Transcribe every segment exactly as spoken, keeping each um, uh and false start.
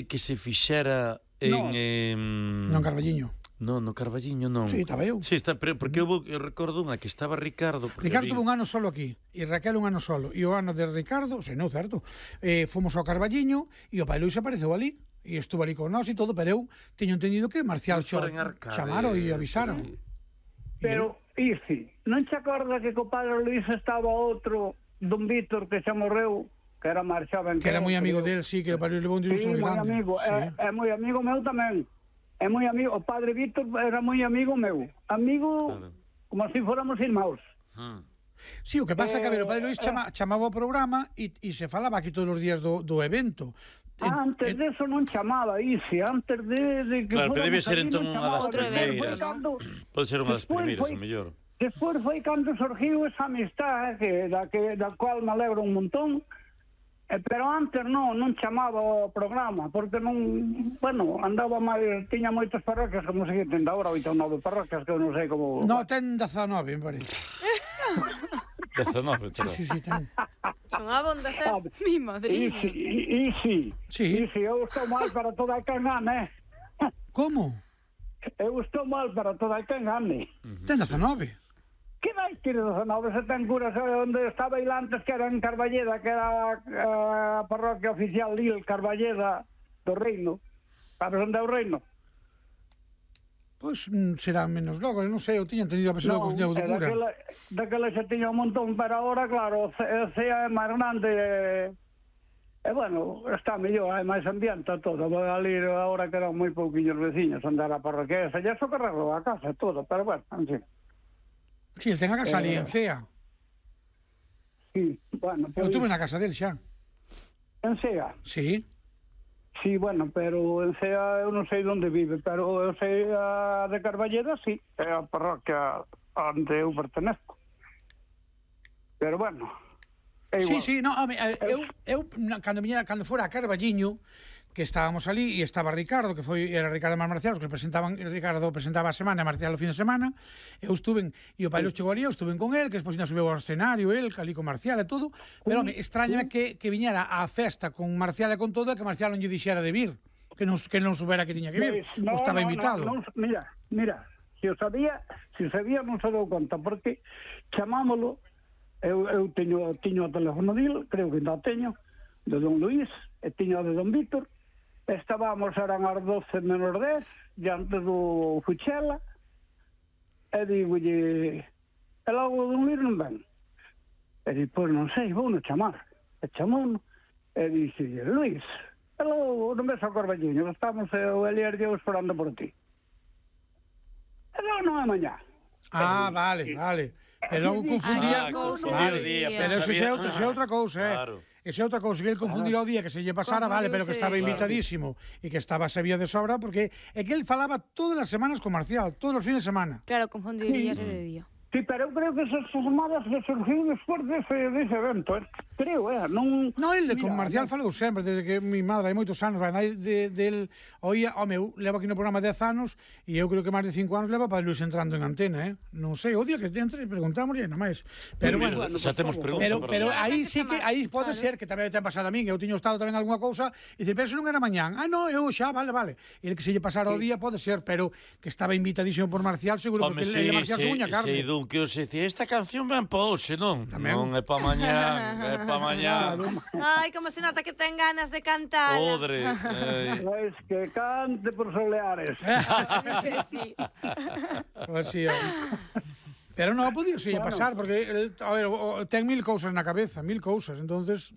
que se fixera en... Non, non Carballiño. Non, no Carballiño non. Sí, estaba eu. Sí, está, pero porque eu, eu recordo unha que estaba Ricardo. Ricardo tuvo un ano solo aquí, e Raquel un ano solo. E o ano de Ricardo, se non, certo, eh, fomos ao Carballiño e o pai Luís apareceu ali. E estuvo ali con nós e todo, pero eu teño entendido que Marcial chamaron e avisaron. Pero, Isi, non te acordas que co padre Luís estaba outro, don Víctor, que se morreu, que era máis xoven que era moi amigo del, sí, que o padre levou un disgusto moi grande. Amigo, sí, moi amigo, é moi amigo meu tamén. É moi amigo, o padre Víctor era moi amigo meu. Amigo, claro, como se si fóramos irmãos. Ah. Sí, o que pasa é eh, que, a ver, o padre Luís chama, eh, chamaba o programa e, e se falaba aquí todos os días do, do evento. Ah, antes en, de eso non chamaba, Isi, antes de, de que claro, pero debe ser allí, entón unha das primeiras. Pode ser unha das primeiras, o mellor. Despois foi cando surgiu esa amistad, que, da, que, da cual me alegro un montón. Eh, pero antes non, non chamaba o programa, porque non, bueno, andaba máis, tiña moitas parroquias, como se ten agora, oito ou nove parroquias, que eu non sei como... No, ten dezanove, me parece. dezanove, sí, sí, sí, ten. Son abondas, eh, ah, mi madriña. E si, e si, sí. E si, eu estou mal para toda a quen gane. Como? Eu estou mal para toda a quen gane. Uh-huh. Ten dezanove. Que vai ter dezanove se ten curas onde estaba il antes, que era en Carballeda, que era a parroquia oficial Lil Carballeda do Reino. Sabes onde é o Reino? Pois mm, será menos logo, non sei, eu tiña entendido a pessoa que non, de cura. Daquela, daquela xa tiña un montón, pero agora, claro, o C E é máis grande e, e bueno, está mellor, hai máis ambiente todo. Vou ali agora que eran moi pouquinhos veciños andar a parroquia esa, xa socorrerlo a casa todo, pero bueno, en fin. Sí, el ten a casa eh, ali en Cea. Sí, bueno... Eu pues, tuve na casa del xa. En Cea? Sí. Sí, bueno, pero en Cea eu non sei onde vive, pero eu sei a de Carballeda, sí, é a parroquia onde eu pertenezco. Pero bueno, é igual. Sí, sí, no, home, eu, eu, cando, viñera, cando fora a Carballiño, que estábamos ali e estaba Ricardo, que foi era Ricardo e Marcial, os que presentaban, Ricardo presentaba a semana e Marcial o fin de semana. Eu estuve, e o pai Luís chegou ali, eu estuve con el, que despois ainda subeu ao escenario, el, ali con Marcial e todo, pero me extrañame que, que viñera á festa con Marcial e con todo, e que Marcial non lle dixera de vir, que non, que non subera que tiña que vir, pues, no, estaba no, invitado. No, no, mira, mira, se o sabía, se o sabía non se dou conta, porque chamámolo, eu, eu teño, teño o teléfono dil, creo que ainda teño, de don Luís, e teño de don Víctor. Estábamos, eran as doce menos dez, diante do Fuchela, e digolle, e logo don Luís non ven. E di, pois non sei, vou non chamar. E chamou, e dixe, Luís, e logo non ves ao Carballiño, estamos o Elier e eu esperando por ti. E logo non é mañá. Ah, vale, vale. Pero logo confundía... Ah, confundía vale, o día. Pero eso xa é outra cousa, eh. Claro. Esa é outra cousa, que ele confundirá o día que se lle pasara, vale, pero que estaba invitadísimo e que estaba sabía de sobra, porque é que ele falaba todas as semanas con Marcial, todos os fines de semana. Claro, confundiríase de día. Sí, pero eu creo que esas llamadas que surgiu despois dese, dese evento, eh? Creo, eh? Non... No, ele con Marcial falou sempre, desde que mi madre hai moitos anos, vai, de, del oía, home, eu levo aquí no programa dez anos e eu creo que máis de cinco anos leva para Luís entrando en antena, eh? Non sei, o día que entre preguntamos e nada máis. Pero sí, bueno, xa temos preguntas. Pero, pero aí sí que, aí pode ser que tamén ten pasado a min, eu tiño estado tamén algunha cousa e dice, pero eso non era mañán. Ah, no, eu xa, vale, vale. E el que se lle pasara o día pode ser, pero que estaba invitadísimo por Marcial, seguro, porque ele Marcial suña carne. Se dun que os decía, esta canción ben pa hoxe, non? Tamén. Non é pa mañán, é pa mañán. Ai, como se nota que ten ganas de cantar. Podre. Pois que cante por soleares. Sí. Pues sí, pero non podía se bueno. pasar, porque el, a ver, ten mil cousas na cabeza, mil cousas, entonces...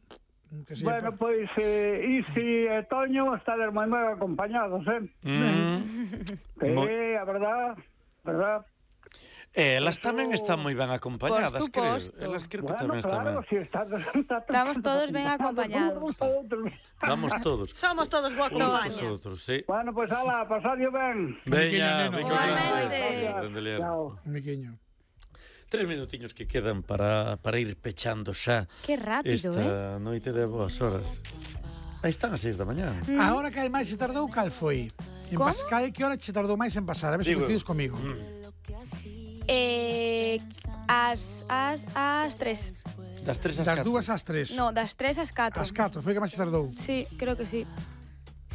Que se bueno, pois, pues, eh, Isi e Toño estades moi moi acompañados, eh? Mm. Que, a verdad, verdad... E elas tamén están moi ben acompañadas, creo. Elas creo que bueno, tamén claro, están ben. Si está, está, estamos todos ben acompañados. Vamos todos. Somos todos guacobañas. Nosotros, sí. Bueno, pois, pues, ala, pasadio ben. Veña, igualmente. Chao. Miquiño. Tres minutiños que quedan para, para ir pechando xa. Que rápido, esta eh? noite de boas horas. Aí están as seis da mañá. Mm. A hora que máis se tardou, cal foi? En ¿Cómo? Pascal, que hora se tardou máis en pasar? A ver se coincides comigo. Mm. Eh, as, as, as tres. Das tres ás Das catro. dúas ás tres. No, das tres ás catro. Ás catro, foi que máis se tardou. Sí, creo que sí.